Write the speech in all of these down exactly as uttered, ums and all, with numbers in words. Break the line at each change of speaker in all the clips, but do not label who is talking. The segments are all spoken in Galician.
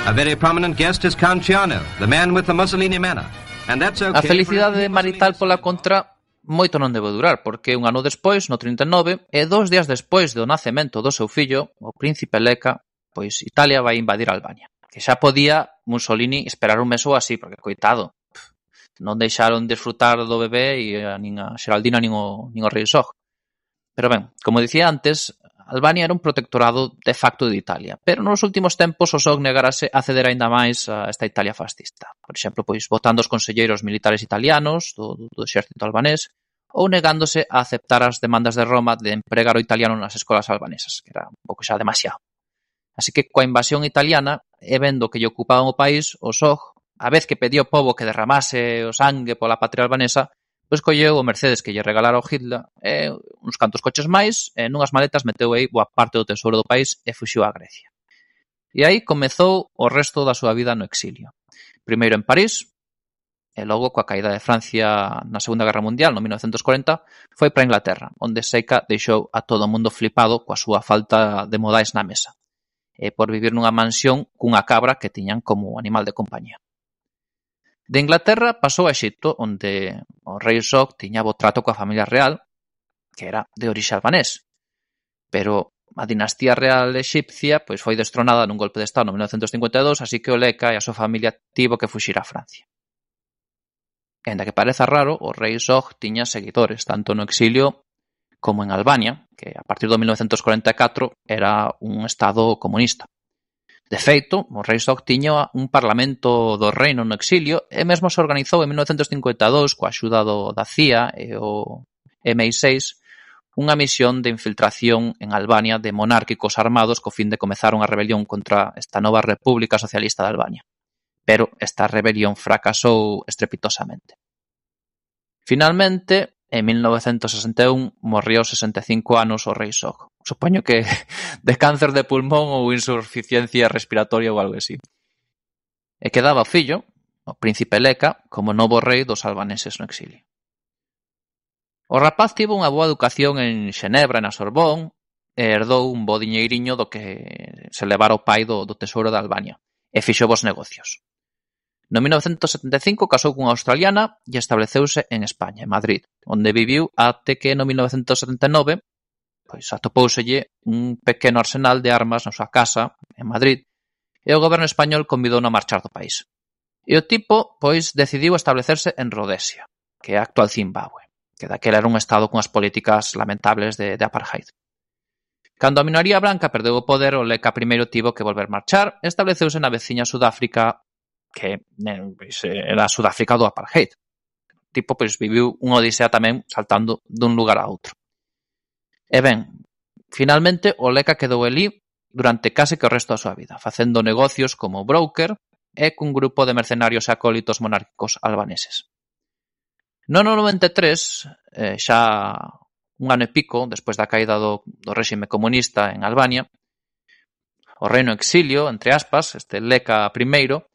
A very prominent guest is Count Ciano, the man with the Mussolini manner. And that's okay.
A felicidade marital pola contra moito non debe durar, porque un ano despois, no trinta e nove, e dos días despois do nacemento do seu fillo, o príncipe Lecca, pois Italia vai invadir Albania. Que xa podía Mussolini esperar un mes ou así, porque coitado, non deixaron desfrutar do bebé e a, nin a Xeraldina nin o, nin o rei Zog. Pero ben, como dicía antes, Albania era un protectorado de facto de Italia, pero nos últimos tempos o Zog negarase a ceder aínda máis a esta Italia fascista. Por exemplo, pois votando os conselleiros militares italianos do, do, do exército albanés ou negándose a aceptar as demandas de Roma de empregar o italiano nas escolas albanesas, que era un pouco xa demasiado. Así que coa invasión italiana, e vendo que lle ocupaban o país, o Zog, a vez que pedía ao pobo que derramase o sangue pola patria albanesa, pois colleu o Mercedes que lle regalara o Hitler e uns cantos coches máis e nunhas maletas meteu aí boa parte do tesouro do país e fuxiu a Grecia. E aí comezou o resto da súa vida no exilio. Primeiro en París e logo coa caída de Francia na Segunda Guerra Mundial no mil novecentos corenta foi para Inglaterra, onde Seca deixou a todo o mundo flipado coa súa falta de modais na mesa e por vivir nunha mansión cunha cabra que tiñan como animal de compañía. De Inglaterra pasou a Exipto, onde o rei Zog tiña bo trato coa familia real, que era de orixe albanés. Pero a dinastía real exipcia pois foi destronada nun golpe de estado no mil novecentos cincuenta e dous, así que o Lecca e a súa familia tivo que fuxir a Francia. E, ainda que pareza raro, o rei Zog tiña seguidores, tanto no exilio como en Albania, que a partir do mil novecentos corenta e catro era un estado comunista. De feito, o rei Zog tiña un parlamento do reino no exilio e mesmo se organizou en mil novecentos cincuenta e dous coa axuda do, da C I A e o eme i seis unha misión de infiltración en Albania de monárquicos armados co fin de comezar unha rebelión contra esta nova República Socialista de Albania. Pero esta rebelión fracasou estrepitosamente. Finalmente, en mil novecentos sesenta e un, morrió aos sesenta e cinco anos o rei Zog. Supoño que de cáncer de pulmón ou insuficiencia respiratoria ou algo así. E quedaba o fillo, o príncipe Lecca, como novo rei dos albaneses no exilio. O rapaz tivo unha boa educación en Xenebra e na Sorbón e herdou un bo diñeiriño do que se levara o pai do, do tesouro de Albania e fixo bons negocios. No mil novecentos setenta e cinco casou cunha australiana e estableceuse en España, en Madrid, onde viviu até que no mil novecentos setenta e nove pois atopóuselle un pequeno arsenal de armas na súa casa, en Madrid, e o goberno español convidou a marchar do país. E o tipo, pois, decidiu establecerse en Rodesia, que é a actual Zimbabue, que daquela era un estado cunhas políticas lamentables de, de apartheid. Cando a minoría branca perdeu o poder, o Lecca primeiro tivo que volver marchar e estableceuse na veciña Sudáfrica, que pois, era a Sudáfrica do apartheid. O tipo, pois, viviu unha odisea tamén saltando dun lugar a outro. E ben, finalmente o Lecca quedou elí durante case que o resto da súa vida, facendo negocios como broker e cun grupo de mercenarios e acólitos monárquicos albaneses. No ano noventa e tres, eh, xa un ano e pico, despois da caída do, do réxime comunista en Albania, o reino exilio, entre aspas, este Lecca primeiro,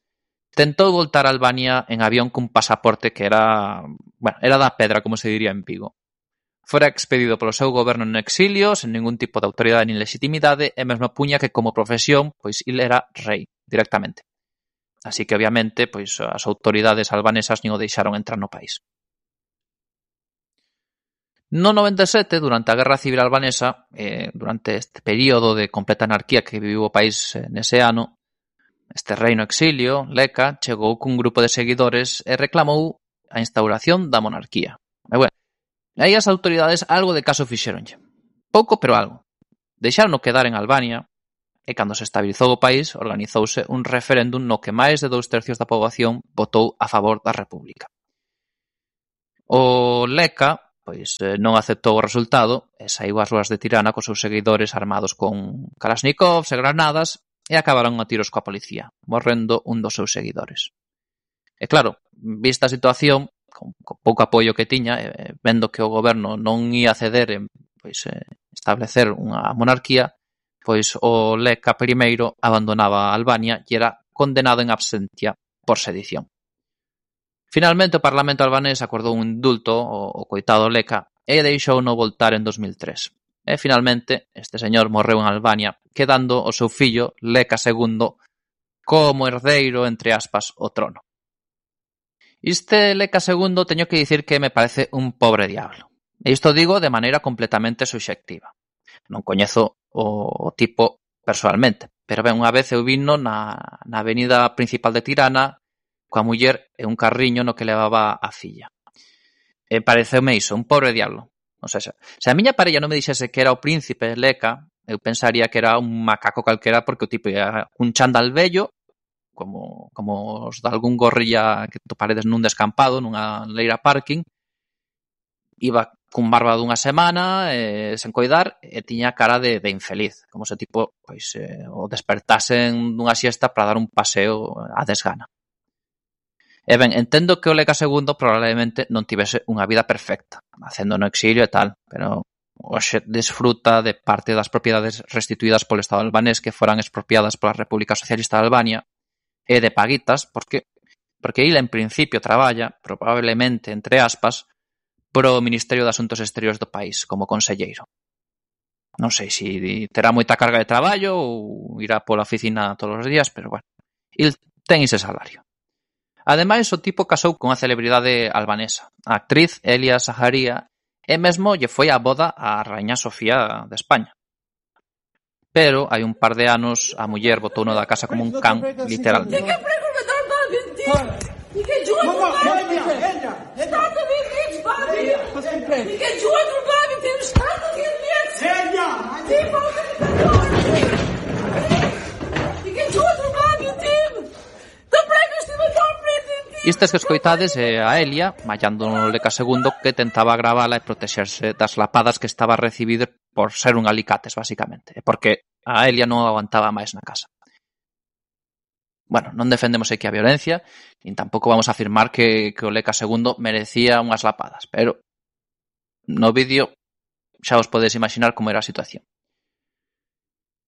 tentou voltar a Albania en avión cun pasaporte que era, bueno, era da pedra, como se diría en Vigo. Fora expedido polo seu goberno no exilio, sen ningún tipo de autoridade nin legitimidade, e mesmo puña que como profesión, pois il era rei, directamente. Así que, obviamente, pois as autoridades albanesas nin o deixaron entrar no país. No noventa e sete, durante a Guerra Civil Albanesa, eh, durante este período de completa anarquía que viviu o país eh, nese ano, este rei no exilio, Lecca, chegou cun grupo de seguidores e reclamou a instauración da monarquía. E bueno, aí as autoridades algo de caso fixeronlle. Pouco, pero algo. Deixaron quedar en Albania e cando se estabilizou o país organizouse un referéndum no que máis de dous tercios da poboación votou a favor da República. O Lecca, pois, non aceptou o resultado e saiu ás ruas de Tirana cos seus seguidores armados con kalashnikovs e granadas e acabaron a tiros coa policía, morrendo un dos seus seguidores. E claro, vista a situación, con, con pouco apoio que tiña, eh, vendo que o goberno non ia ceder en pois, eh, establecer unha monarquía, pois o Lecca primeiro abandonaba Albania e era condenado en absentia por sedición. Finalmente o Parlamento albanés acordou un indulto ao, ao coitado Lecca e deixou no voltar en dos mil tres. E finalmente este señor morreu en Albania, quedando o seu fillo, Lecca segundo, como herdeiro, entre aspas, o trono. Este Leca segundo teño que dicir que me parece un pobre diablo. E isto digo de maneira completamente subxectiva. Non coñezo o, o tipo personalmente, pero ben, unha vez eu vino na, na avenida principal de Tirana coa muller e un carriño no que levaba a filla. E pareceume iso, un pobre diablo. O sea, se a miña parella non me dixese que era o príncipe Leca, eu pensaría que era un macaco calquera porque o tipo ia un chándal vello, como, como os de algún gorrilla que toparedes nun descampado, nunha leira parking, iba cun barba dunha semana, eh, sen coidar, e tiña cara de, de infeliz, como se tipo pois, eh, o despertasen dunha siesta para dar un paseo a desgana. E ben, entendo que o Leca segundo probablemente non tivese unha vida perfecta, facendo no exilio e tal, pero hoxe desfruta de parte das propiedades restituídas polo Estado albanés que foran expropiadas pola República Socialista de Albania e de paguitas, porque porque ele en principio traballa, probablemente, entre aspas, pro Ministerio de Asuntos Exteriores do país, como conselleiro. Non sei se si terá moita carga de traballo ou irá pola oficina todos os días, pero bueno, ele ten ese salario. Ademais, o tipo casou con a celebridade albanesa, a actriz Elia Saharia, e mesmo lle foi a boda a Raíña Sofía de España. Pero hai un par de anos a muller botouno da casa como un can, literalmente. Istes que escoitades é a Elia, mallando no Leca segundo, que tentaba gravala e protexerse das lapadas que estaba a recibir por ser un alicates, basicamente. Porque a Elia non aguantaba máis na casa. Bueno, non defendemos aquí a violencia, nin tampouco vamos a afirmar que, que o Leca segundo merecía unhas lapadas, pero no vídeo xa os podedes imaginar como era a situación.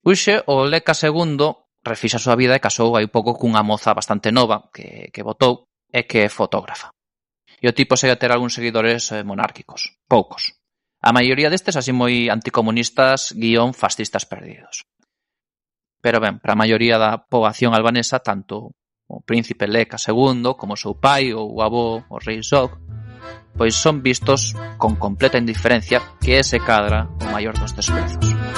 Uxe, o Leca segundo refixa a súa vida e casou hai un pouco cunha moza bastante nova que, que votou e que é fotógrafa. E o tipo segue a ter algúns seguidores eh, monárquicos, poucos. A maioría destes así moi anticomunistas guión fascistas perdidos. Pero ben, para a maioría da poboación albanesa, tanto o príncipe Leca segundo como o seu pai ou o avó, o rei Zog, pois son vistos con completa indiferencia, que é se cadra o maior dos desprezos.